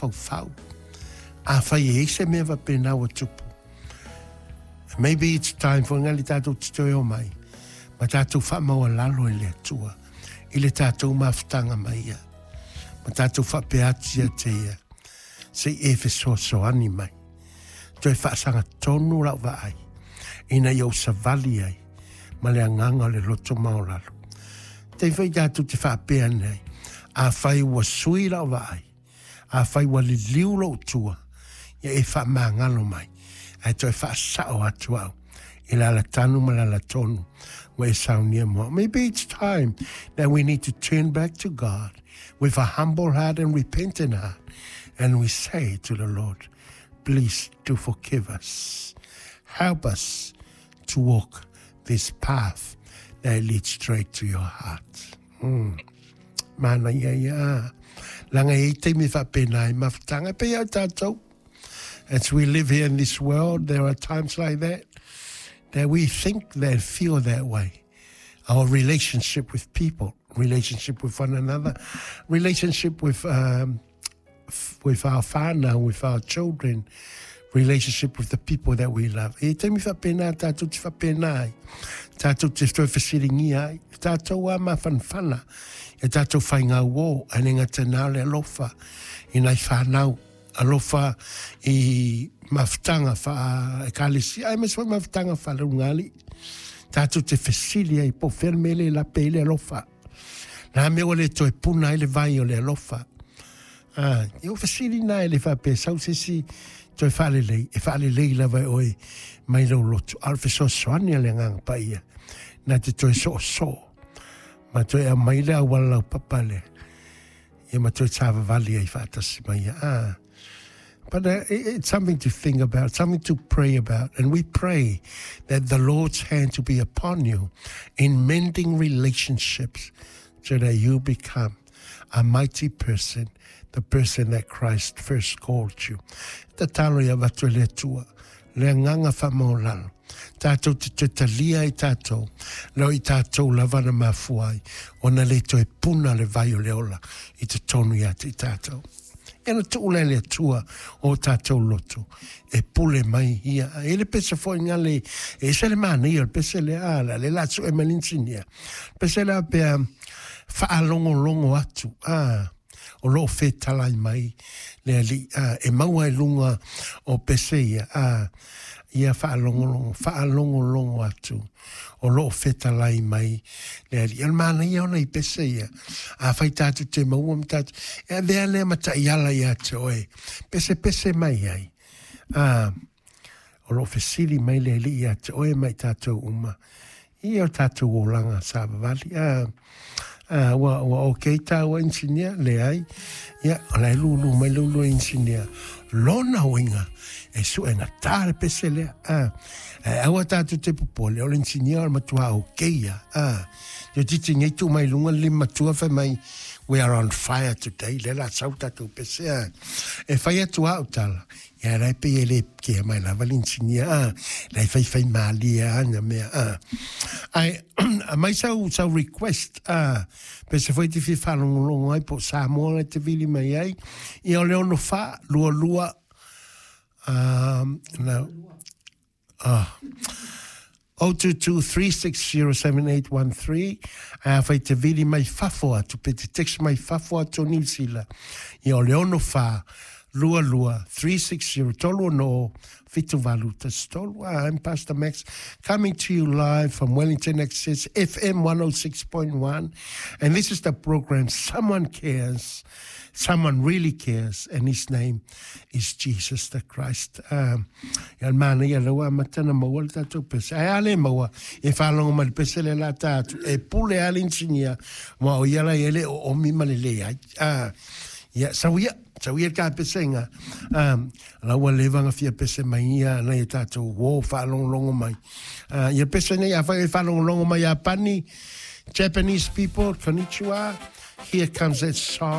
mafaufau. Afai e i ai se mea faapena ua tupu, maybe it's time for ngali tatou te toe omai ma tatou faamaualalo i le Atua i le tatou mafutaga ma Ia, ma tatou faapea atu ia te Ia, se i e fesoasoani mai, toe faasagatonu lau vaai, ina ia ou savali ai ma le agaga o le loto maualalo. Taimi foi tatou te faapea nei, afai ua sui lau vaai, afai ua liliu lou tua, ia e faamagalo mai, ae toe faasao atu au i le alatanu ma le alatonu ua e saunia mo au. Maybe it's time that we need to turn back to God with a humble heart and repentant heart, and we say to the Lord, please do forgive us. Help us to walk this path that leads straight to your heart. Manaia ia, a. Leaga e i ai taimi e faapena ai mafutaga, e pei lava o tatou. As we live here in this world, there are times like that, that we think that feel that way. Our relationship with people, relationship with one another, relationship with, um, with our whānau, with our children, relationship with the people that we love. E taimi faapena tātou te faapena ai, tātou te toe fesilingia ai, tātou a mafanafana, e tātou whai ngā uō, e le gata nā o le alofa i nai whānau, alofa i mafutaga wha ekalesia, aemaise foi mafutaga faaleulugalii. Tātou te fesili ai po o fea le mea le lape ai le alofa. Nā mea ua le toe puna ai le vai o le alofa. Ah, i o fesili nā e le faapea sau se isi toe faalelei, e faalelei lava e oe mai lou loto, a o le fesoasoani a le Agaga Paia, na te toe soosoo ma toe aumai le auala laupapa lea, ia ma toe savavali ai faatasi ma ia. Ah. But it's something to think about, something to pray about. And we pray that the Lord's hand to be upon you in mending relationships so that you become a mighty person, the person that Christ first called you. Tatalo ia avatu e le Atua, le agaga faamaualalo, tatou te toe talia ai tatou, leo i tatou lava na mafua ai, ona le toe puna le vai o le ola i totonu ia te i tatou. Ia na tuu lea le Atua o tatou loto e pule mai ia. E le pese foi nga le, e ese le manaia o le pese lea, a, le la sue mai le inisinia. Pese lea pea faalogologo atu, a, o lo o fetalai mai le Alii, a, e maua i luga o pese ia, a, ia faalogologo, faalogologo atu o lo o fetalai mai le Alii. O le manaia ona i pese ia, afai tatou te maua ma tatou, e avea lea ma taiala ia te oe, pesepese mai ai, a, o lo o fesili mai le Alii ia te oe ma i tatou uma, i o tatou olaga savavali. A, a, ua, ua okay tāua inisinia? Leai. Ia, o la e lūlū mai le ulu inisinia. Lona uiga, e suegatā le pese lea. A, ae aua tatou te popole, o le inisinia o le matua okay ia. A, toeitiiti nei tuu mai luga le lima matua fai mai, we are on fire today, lea la sau tatou pese. A, e fai atu au tala, Ia la e pei e le kea mai lava le inisinia, a, la e faifai malie a na mea, a. Ae, aumai sau, sau request, a, pe se foi te fia faalogologo ai po o Samoa e te vili mai ai, ia o le 64, 22, a, na, a, 022-360-7813, ae afai te vili mai fafo atu, pe te text mai fafo atu o Niu Sila, ia o le 64 22 360 30 78 13. I'm Pastor Max, coming to you live from Wellington Access FM 106.1, and this is the program Someone Cares. Someone really cares, and his name is Jesus the Christ. Ia le manaia lea ua amata ona maua le tatou pese. Ae a le maua, e faalogo mai le pese lea la ta atu, e pule lava le inisinia, aua o ia la ia e le oomi ma le leai. Ia, sau ia, sau ia le ta pesega. La ua leva ona fia pese mai ia nai o tatou uō faalogologo mai. Ia pese nei, afai e faalogologo mai Iapani, Japanese people, konnichiwa, here comes that song.